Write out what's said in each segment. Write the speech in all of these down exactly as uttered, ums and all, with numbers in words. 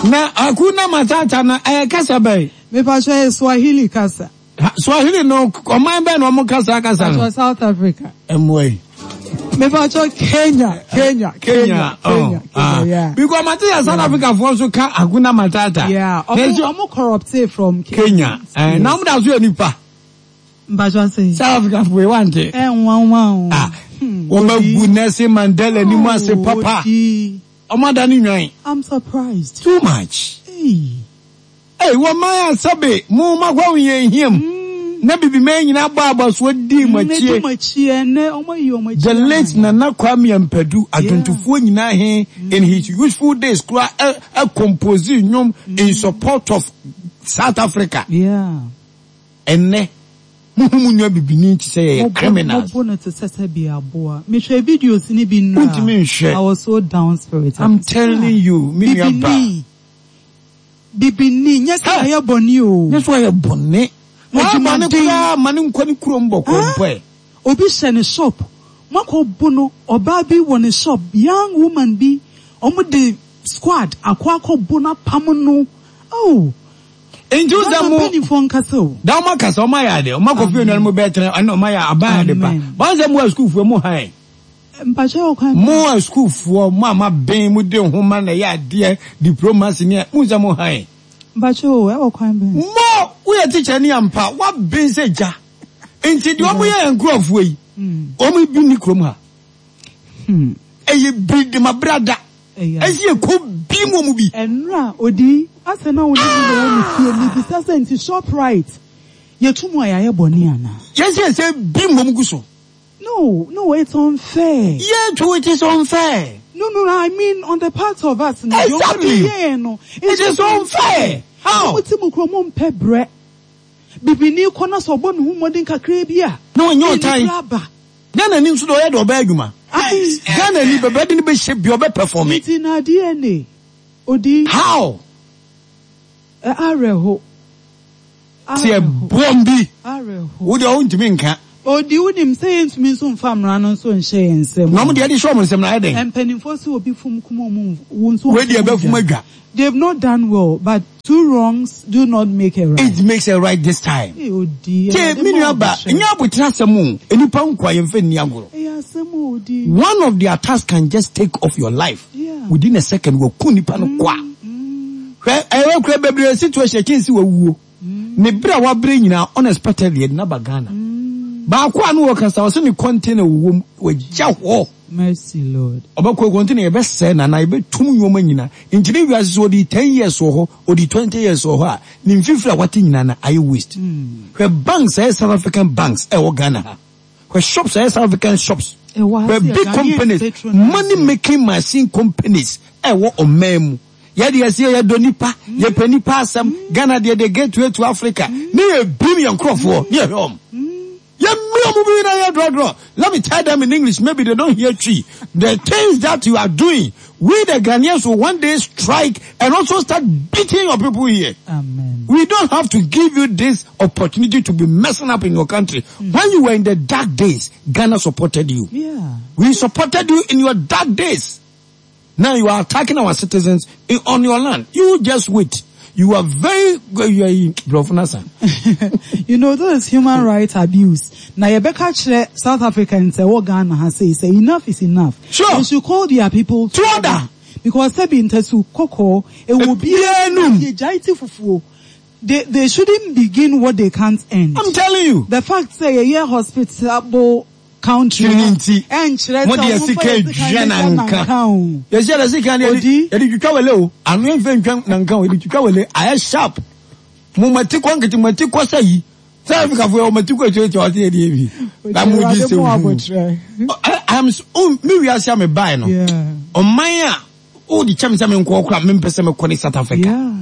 Na Hakuna Matata na ɛyɛ kasa bɛn? Mepa kyɛw, Swahili kasa. Swahili no, ɔman bɛn na ɔmo kasa kasa no? South Africa. Ɛmoa yi. Mepa kyɛw, Kenya, Kenya, Kenya, Kenya, Kenya, yeah. Because mate sɛ South Africa foɔ nso ka Hakuna Matata. Yeah, ɔmo ɔmo corrupted from Kenya. Kenya. Na ɔmo da so yɛ nipa. Mpatsɔ sɛ. South Africa foɔ wante. Ɛnwanwa o. Ah, wɔn agu Nelson Mandela ni mu ase papa. Ɔmo ada ne nwan. I'm surprised. Too much. Hey. Hey, wɔn man asabe mo ma kɔ yɛn hiam. Na bibi mɛ nyinaa bɔ abasoɔ di mu akyie. Di mu akyie ne ɔmo yi ɔmo akyie. The late Nana Kwame Ampadu, adwontofoɔ nyinaa he in his youthful days kura ɛ ɛ compose nnwom in support of South Africa. Yeah. Ɛnɛ muhu mu nua bibini ti sɛ yɛyɛ criminals. Mo bo no te sɛ sɛ bi aboa. Mehwɛ videos ni bi nnura. Wontumi nhwɛ. I was so down spirited. I'm telling you, me nua ba. Bibini, nyɛ sɛ ɔyɛ bɔne o. Nyɛ sɛ ɔyɛ bɔne. Wama ne koraa ma ne nkɔ ne kurom bɔkɔ mpɛ. Obi hyɛ ne shop. Makɔ bu no, ɔbaa bi wɔ ne shop, young woman bi, ɔmo de squad akɔ akɔ bu no apam no. Oh. Nti sɛ mo mpanyinfoɔ nkasa o. Da ɔmo akasa, ɔmo ayɛ ade, ɔmo akɔ fie nuanom bɛɛ tena ɛna ɔmo ayɛ aban ade pa. Wɔn sɛ mo a sukuufoɔ mo han. Mpakyɛ ɔkwan. Mo a sukuufoɔ mo a ma bɛn mo de nhoma na ɛyɛ adeɛ diplomacy ne mo sɛ mo han. Mpakyɛ o, ɛwɔ kwan bɛn. Mo woyɛ teacher ni ampa wa bɛn sɛ gya. Nti deɛ ɔmo yɛ yɛn nkurɔfoɔ yi, ɔmo bi ni kurom ha. Ɛyɛ bi de ma brada. Ɛsi eko bi mu mu bi. Ɛnura odi asɛ na wɔn ni na wɔn mi fie mi bisa sɛ nti Shoprite yɛtu mu a yɛayɛ bɔne ana. Yɛsi ɛsɛ bi mu gu so. No, no, it's unfair. Yeah, true, it is unfair. No, no, I mean on the part of us. Exactly. Yeah, no, it is unfair. How? Mo ti mu kuro mo mpɛ brɛ. Bibini kɔ na sɛ ɔbɔ ne ho mmɔden kakra bi a. Na ɔnyɛ ɔtan. Ghana ni nso de ɔyɛ de ɔbɛyɛ adwuma. Ghana ni bɛbɛ de ne bɛ hyɛ bi ɔbɛ perform. Nti na D N A odi. How? Ɛ awerɛho. Tiɛ bɔm bi. Awerɛho. Wo deɛ ɔntumi nka. Odi, wonim sɛ yɛntumi nso mfa mmara no nso nhyɛ yɛn nsam. Na ɔmo deɛ de hyɛ ɔmo nsam na ayɛ den. Mpanimfoɔ sɛ obi fum kum ɔmo wo nso. Wei deɛ bɛfum adwa. They've not done well, but two wrongs do not make a right. It makes a right this time. Ee, odi. Tie, mi nua ba, nyɛ abotire asɛm o, nipa nkwa yɛn fɛ nni agorɔ. Ɛyɛ asɛm o, odi. One of the attacks can just take off your life. Yeah. Within a second, wɔku nipa no kwa. Hwɛ, ɛyɛ kura bebree situation kyɛn si wɔwuo. Ne bere a wabere nyinaa, unexpectedly yɛde naba Ghana. Baako a no wɔ kasa, ɔsɛ ne container wɔ mu, wɔgya hɔ. Mercy, Lord. Ɔbɛkɔ container yɛbɛsɛɛ nana yɛbɛtum nneɛma nyinaa. Nti ne wiase so ɔde ten years wɔ hɔ, ɔde twenty years wɔ hɔ a, ne mfifiri a wate nyinaa na ayɛ waste. Hwɛ, banks ɛyɛ South African banks ɛwɔ Ghana ha. Hwɛ, shops ɛyɛ South African shops. Ɛwɔ ha. Hwɛ, big companies, money making machine companies ɛwɔ ɔman mu. Yɛde yɛsi yɛdɔ nipa, yɛpɛ nipa asɛm. Ghana deɛ, the gateway to Africa. Ne yɛ bim yɛn nkurɔfoɔ, ne yɛ hwɛ wɔn. Yɛ mmiri ɔmo bi na yɛ drɔdrɔ. Let me tell them in English, maybe they don't hear Twi. The things that you are doing, we the Ghanaians will one day strike and also start beating your people here. Amen. We don't have to give you this opportunity to be messing up in your country. When you were in the dark days, Ghana supported you. Yeah. We supported you in your dark days. Now you are attacking our citizens in, on your land. You just wait. You are very, you are, bro. You know, this is human rights abuse. Na yɛbɛka kyerɛ South Africans sɛ wɔ Ghana ha sei sɛ enough is enough. Sure. They should call their people to order. Because sɛbi ntasu kɔkɔɔ ɛwɔ Ebiara num. Yɛgyae ti fufuo. They they shouldn't begin what they can't end. I'm telling you. The fact sɛ yɛyɛ hospitable country. Tiri nti. Ɛnkyerɛ Mo sɛ de ɔmo sika fa yɛ sika edua ne nanka. nanka o. Yɛsi yɛde sika ne Odi. yɛde yɛde twitwa wele o. Ano yɛn fɛ ntwa nanka o, yɛde twitwa wele ayɛ sharp. Mo mati kɔ nkete, mo mati kɔ sɛ yi. South Africa fo yɛ mo mati kɔ ekyir ekyir ɔsi yɛde yɛ bi. Na mo di Awurade sɛ mo hu. abotire. I am so mi wiase a mi baa no. Yeah. Ɔman a o de kyɛm sɛ mi nkɔ kora mi mpɛ sɛ mi kɔ ne South Africa. Yeah.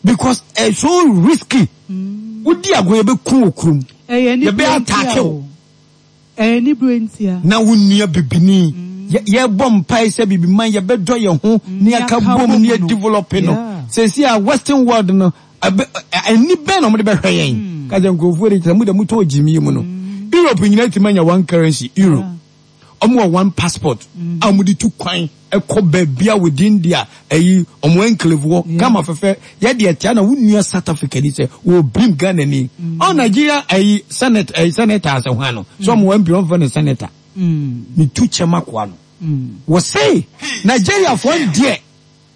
Because it's so risky. Wodi agorɔ, yɛ bɛ kun wɔ kurom. Ɛyɛ ni Yɛbɛ attack o. Ɛyɛ ni bere ntia. Na wo nua bibini yɛbɔ mpae sɛ bibi man yɛbɛdɔ yɛn ho ne yɛka bom ne yɛ develop no. Yeah. Sɛsi a Western world no ani bɛn na ɔmode bɛhwɛ yɛn ka sɛ nkurɔfoɔ de kyerɛ mu de motɔ gyimie mu no. Europe nyinaa tumi anya one currency, euro. Ɔmo wɔ one passport a ɔmo de tu kwan ɛkɔ baabi a within their ɛyi ɔmo enclave wɔ kama fɛfɛ. Yɛ deɛ tia na wo nua South Africa ni sɛ wɔ brim Ghana ni ɔ Nigeria ɛyi senate ɛyi senator asɛ hwan no so ɔmo M P ɔmo fɛ no senator ne tu kyɛm akoa no wɔ se Nigeria fo deɛ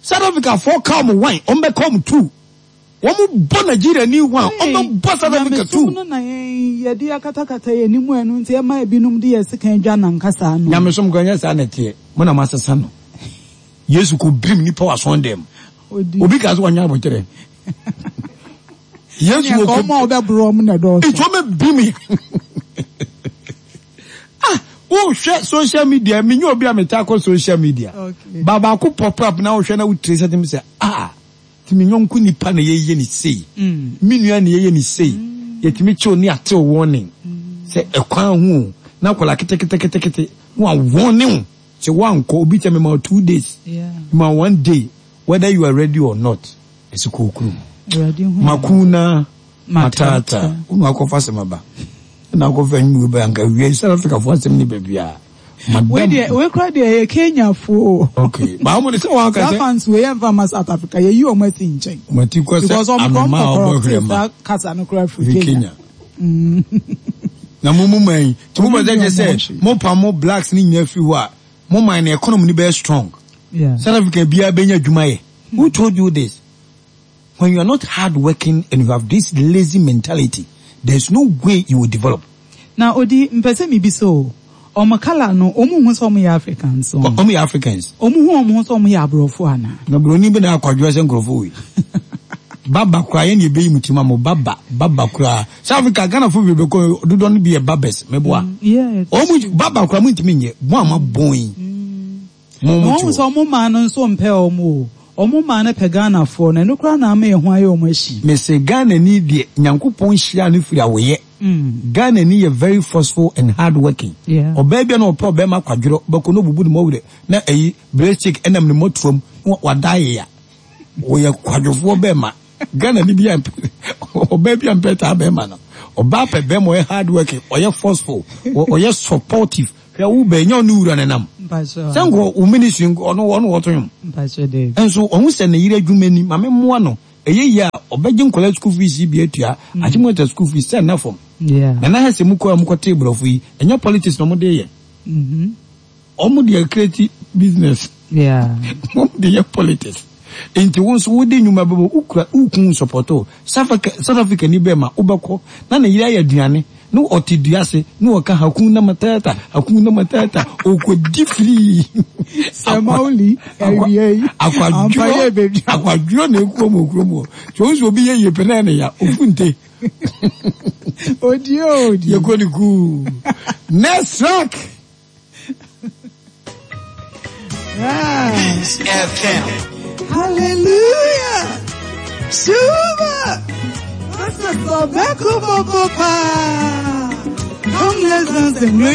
South Africa fo ka ɔmo one, ɔmo bɛ ka ɔmo two. Wɔn bɔ Nigeria ni one, ɔmo bɔ South Africa two. Nyamesom no na yɛn yɛde akatakata yɛn anim, ɛno nti ɛma ebinom de yɛ sekan dwa nankasa no. Nyamesom kɔ nyɛ saa na ɛteɛ. Mo na mo asesa no. Yesu kò birim nipa wɔ asɔn dɛm. Obi ka so wɔnyɛ abɔkyerɛ Yesu wɔ kò ɔmo a ɔbɛboro ɔmo na ɛdɔɔso. Etu ɔmo birim. Ah, wohwɛ social media, mi nye obi a mi ta kɔ social media. Okay. Ba baako pop up na wohwɛ na wotire sɛ tɛm sɛ ah, tìmi nyɔnko nipa na yɛyɛ ne sei. Mi nua na yɛyɛ ne sei. Yɛtumi kyew ne atew warning sɛ ɛkwan ho o, na akwadaa keteketekete na wa warning sɛ wankɔ obi kyɛ mi ma two days, Yeah. ma one day, whether you are ready or not, ɛsɛ kɔ okurum. Awurade hu. Makuna matata wonu akɔfa asɛm aba na akɔfa nwuo bɛ anka wie South Africa fo asɛm ne baabi a Wei deɛ, wei kora deɛ, yɛ Kenyafoɔ. Okay, ba wɔn de sɛ wɔn aka Saa sɛ fans wei yɛn fa ma South Africa, yɛyi wɔn asi nkyɛn. Mati kɔ sɛ because ɔmo kɔ anoma a ɔmo ɔbɔ kɔ hwere ma saa kasa no kora firi fi Kenya. Kenya na mo mu man yi tí mo bɛ sɛ kyɛ sɛ mo pa mo blacks ne nyinaa firi hɔ a, mo man no economy ni bɛyɛ strong. Yeah. South Africa biara bɛnya adwuma yɛ. Who told you this? When you are not hard working and you have this lazy mentality, there is no way you will develop. Na odi mpɛ sɛ mibi so ɔmo kala no, ɔmo hu sɛ ɔmo yɛ Africans o. Ɔmo yɛ Africans. Ɔmo hu ɔmo ho sɛ ɔmo yɛ aborɔfo ana? Na buroni bi na akwadwo sɛ nkurɔfoɔ wei baba koraa yɛn na ebeyi mu ti ma mo baba baba koraa. South Africa Ghana fo bebree kɔ dodoɔ no bi yɛ barbers mɛboa. Yes. Ɔmo baba koraa mo ntumi nyɛ mo a mo abɔn yi mo mo Wɔn ti sɛ hɔ. Ɔmo maa no nso mpɛ ɔmo o. Ɔmo maa no pɛ Ghanafoɔ no, ɛno koraa na ama yɛn ho ayɛ ɔmo akyi. Mese Ghana ni deɛ, Nyankopɔn hyia no firi awoyɛ. Ghana ni yɛ very forceful and hard working. Yeah. Ɔbaa bi a na ɔpɛ ɔbɛrima kwadworɔ bɛkɔ na obubu ne mɔwerɛ na ɛyi break ɛnam ne mɔtuam na wada ayɛ wɔyɛ kwadwofoɔ bɛrima. Ghana ni bi a mpɛ ɔbaa bi a mpɛ taa bɛrima no, ɔbaa pɛ bɛrima ɔyɛ hard working, ɔyɛ forceful, ɔ- ɔyɛ supportive. Hwɛ, wo bɛn nyɛ ɔne wura ne nam Mpakyɛ. sɛ nkɔ wo ministry nkɔ ɔno ɔno wɔto nwom. Mpakyɛ de. Nso ɔho sɛ ne yere adwuma ni maame mmoa no ɛyɛ yie a ɔbɛgye nkɔla school fees yi bi atua akyemɔta school fees sɛ nna fam. Yeah. Na na sɛ mu kɔ a mokɔtee borɔfo yi, ɛnyɛ politics na ɔmode yɛ. Mhm. Ɔmo deɛ create business. Yeah. Ɔmo de yɛ politics, nti wo nso wode nnwuma bɛbɔ wokura wokun support o. South Africa South Africa ni bɛɛ ma wobɛkɔ na ne yere ayɛ aduane na ɔte dua ase na ɔka hakuna matata, hakuna matata, ɔkɔdi firii. Sɛ Mauli awie yi. Ampa yɛ akwadworɔ baabi. Akwadworɔ na ekuo mu okurom hɔ tí o nso obi yɛ yie pɛ na yɛ ne ya ofu nte. Odi o odi. Yɛ kɔ ne kuu. Next track. Yeah. Peace F M. Hallelujah. Shuba. This is Sobeko Bobo Pa. Come, let's dance and